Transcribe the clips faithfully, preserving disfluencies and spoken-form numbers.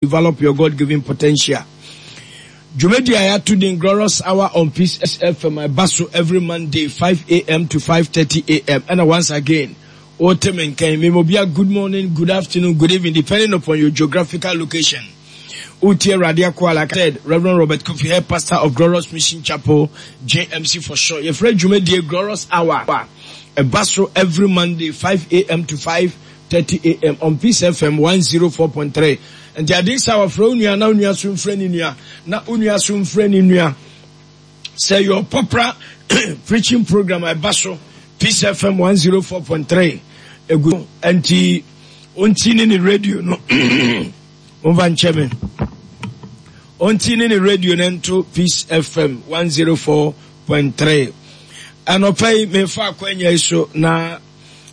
Develop your God-given potential. Dwumadi a yɛato din Glorious Hour on Peace F M ɛba so every Monday five A M to five thirty A M. Ɛna once again, wote me nkan memobia, good morning, good afternoon, good evening, depending upon your geographical location. Wotie Awurade akoa, like I said, Reverend Robert Kofi, head pastor of Glorious Mission Chapel, J M C for short. Yɛfrɛ dwumadie Glorious Hour, ɛba so every Monday five A M to five thirty A M on Peace F M one oh four point three. Nti ade sɛ wɔfrɛ wo nua na wo nua so mfrɛ ne nua na wo nua so mfrɛ ne nua sɛ your popular preaching program a ɛba so Peace F M one oh four point three egu. Nti ɔnti ne ne radio no, momfa nkyɛ me, ɔnti ne ne radio no nto Peace F M one oh four point three. Anɔpa yi mefa akwanya yi so na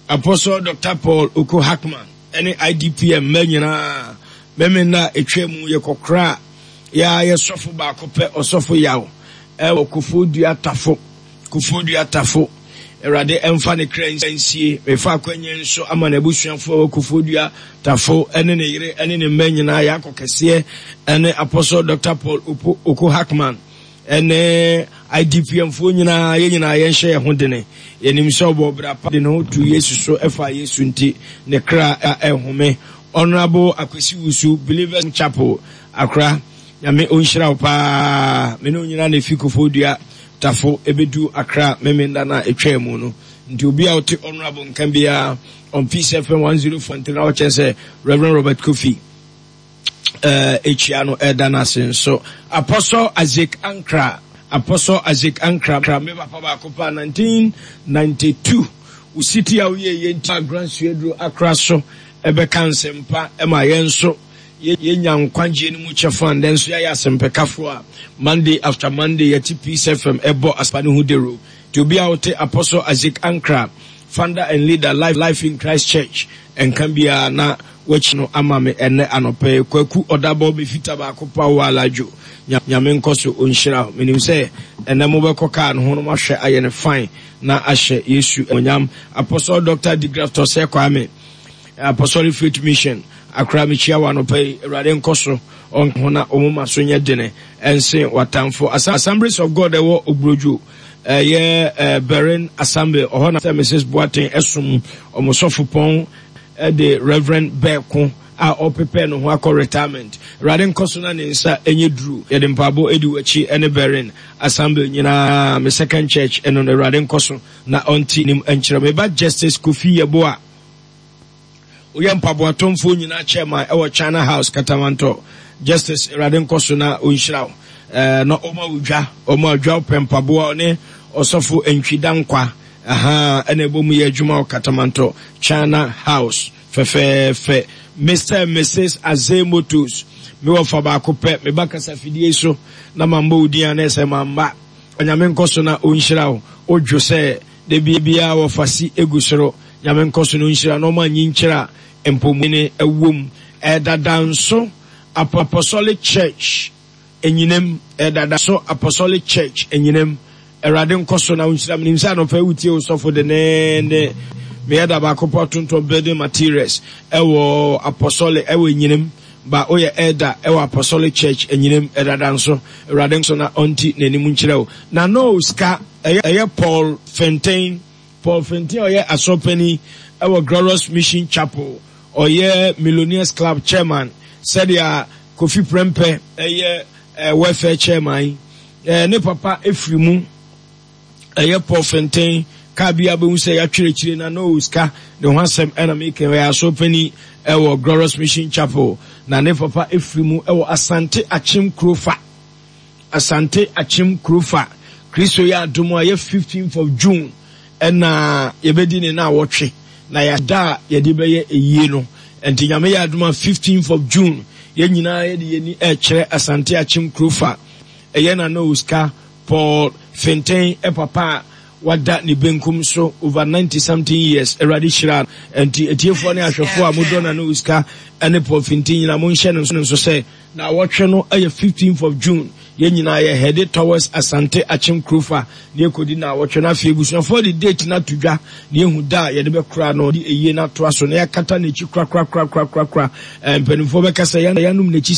Apostle Doctor Paul Oko Hackman ɛne I D P M mma nyinaa mɛmɛ na etwa mu yɛkɔkora a yɛa yɛ sɔfo baako pɛ, ɔsɔfo Yaw ɛwɔ Kofoɔ Tafo, Kofoɔ Tafo. Awurade ɛmfa ne kra nsie. Mefa akwanya nso ama n'abusuafoɔ ɛwɔ Kofoɔ Tafo ɛne ne yere ɛne ne mma nyinaa. Yɛakɔ kɛseɛ ɛne Apostle Doctor Paul Opo Oko Hackman ɛne I D P M foɔ nyinaa. Yɛn nyinaa yɛnhyɛ yɛn ho dene. Yɛnim sɛ ɔbɔ bra pa de ne ho tu Yesu so ɛfa Yesu nti ne kra ɛhome. Honorable Akwasi Wusu, Believers Chapel, Akra, Nyame ɔnhyira wo paa. Me ne wo nyinaa na ɛfi Kofoɔ Dua Tafo ɛbɛdu Akra memenda no a ɛtwaa mu no. Nti obi a wote Honorable nka biara on Peace F M one oh four nti na wɔkyɛn sɛ Reverend Robert Kofi ɛkyia no, ɛda no ase nso. Apostle Isaac Ankra, Apostle Isaac Ankra, me papa baako pa, nineteen ninety-two wo city a woyɛ yɛ nti Grand Suaduro Akra so ɛbɛka nsɛmpa ɛma yɛn nso yɛnya nkwagyeɛ no mu kyɛfa. Ndɛ nso yɛayɛ asɛmpɛkafoɔ a Monday after Monday yɛte Peace F M ɛbɔ aspa no ho dero. Nti obi a wote Apostle Isaac Ankra, founder and leader, Life, Life in Christ Church, ɛnka biara na wakyi no ama me ɛnɛ anɔpɛ. Kwaku Ɔdabɔ me fita baako pa wɔ aladwo, Nyame nkɔ so ɔnhyira. Menim sɛ ɛnɛ mobɛkɔ kaa no ho no mahwɛ ayɛ no fine na ahyɛ Yesu onyam. Apostle Doctor Digraftor Sɛ Kwame, Apostolic Faith Mission, Akra, mekyia wɔ anɔpɛ yi. Awurade nkɔ so ɔnho na ɔmoma so nyɛ dene ɛnsen watamfo. Assemblies of God ɛwɔ Obrodwo, ɛyɛ Berin Assembly, ɔhɔ na sɛ Missus Boateng ɛsom ɔmo sɔfo pɔn ɛde Reverend Bɛɛko a ɔprepare ne ho akɔ retirement. Awurade nkɔ so na ne nsa ɛnyɛ duru. Yɛde mpaabɔ ɛdi w'akyi ɛne Berin Assembly nyinaa. Me second church ɛno no, Awurade nkɔ so na ɔnte nim nkyerɛ. Meba Justice Kofi Yɛboa, woyɛ mpaboatɔmfoɔ nyinaa chairman ɛwɔ China House, Katamantɔ. Justice, Awurade nkɔ so na ɔnhyira wo ɛɛ na ɔma wo dwa, ɔma dwa pɛ mpaboa. Ɔne ɔsɔfo Ntwida Nkwa aha ɛna ɛbɔ mu yɛ adwuma wɔ Katamantɔ China House fɛfɛɛfɛ. Mister and Missus Aze Motors, mewɔ fa baako pɛ, meba kasa fidie so na mambɔ wo din a na ɛsɛ mamba. Onyame nkɔ so na ɔnhyira wo. Wodwo sɛ da biara wɔfa si egu soro. Nyame nkɔ so na ɔnhyira na ɔma nyi nkyerɛ a mpɔmuni ɛwom. Ɛdada nso Apostolic Church Enyinam, ɛdada so Apostolic Church Enyinam, Awurade nkɔ so na ɔnhyira. Menim sɛ anɔpɛ wotie wo sɔfo denneende. Meyɛ da baako pɔ tontɔn building materials ɛwɔ Apostolic ɛwɔ Enyinam ba woyɛ elder ɛwɔ Apostolic Church Enyinam, ɛdada nso. Awurade nso na ɔnti n'anim nkyerɛ wo na no sika. ɛyɛ ɛyɛ Paul Fenten, Paul Fenten a ɔyɛ asɔpani ɛwɔ Glorious Mission Chapel, ɔyɛ Millionaires Club chairman, sɛdeɛ Kofi Prempeh ɛyɛ ɛɛ welfare chairman. ɛɛ ne papa efiri mu, ɛyɛ Paul Fenten. Kaa bi abɛhu sɛ yɛatwerɛ akyire na no sika ne ho asɛm ɛna meka. Ɔyɛ asɔpani ɛwɔ Glorious Mission Chapel na ne papa efiri mu ɛwɔ Asante Akyem Kurofa, Asante Akyem Kurofa. Kristo yɛ adom a yɛ fifteenth of June ɛna yɛbɛdi ne na awɔtwe na yɛada a yɛde bɛyɛ eyie no. Nti Nyame yɛ adom a fifteenth of June yɛn nyinaa yɛde yɛni ɛkyerɛ Asante Akyem Kurofa. Ɛyɛ na no sika Paul Fenten ɛpapa a wada ne benkum so over ninety something years. Awurade hyira. Nti etiefoɔ ne ahwɛfoɔ a modɔ na no sika ɛne Paul Fenten nyinaa, monhyɛ no nso sɛ na awɔtwe no ɛyɛ fifteenth of June. Yɛn nyinaa yɛ headed towards Asante Akyem Kurofa na yɛkɔdi naawɔtwe no. Afei abusuafoɔ de date no ato dwa na yɛhu da a yɛde bɛkora no de ɛyie no atoa so na yɛakata n'akyi korakorakorakorakora. Mpanimfoɔ bɛka sɛ yɛanom n'akyi.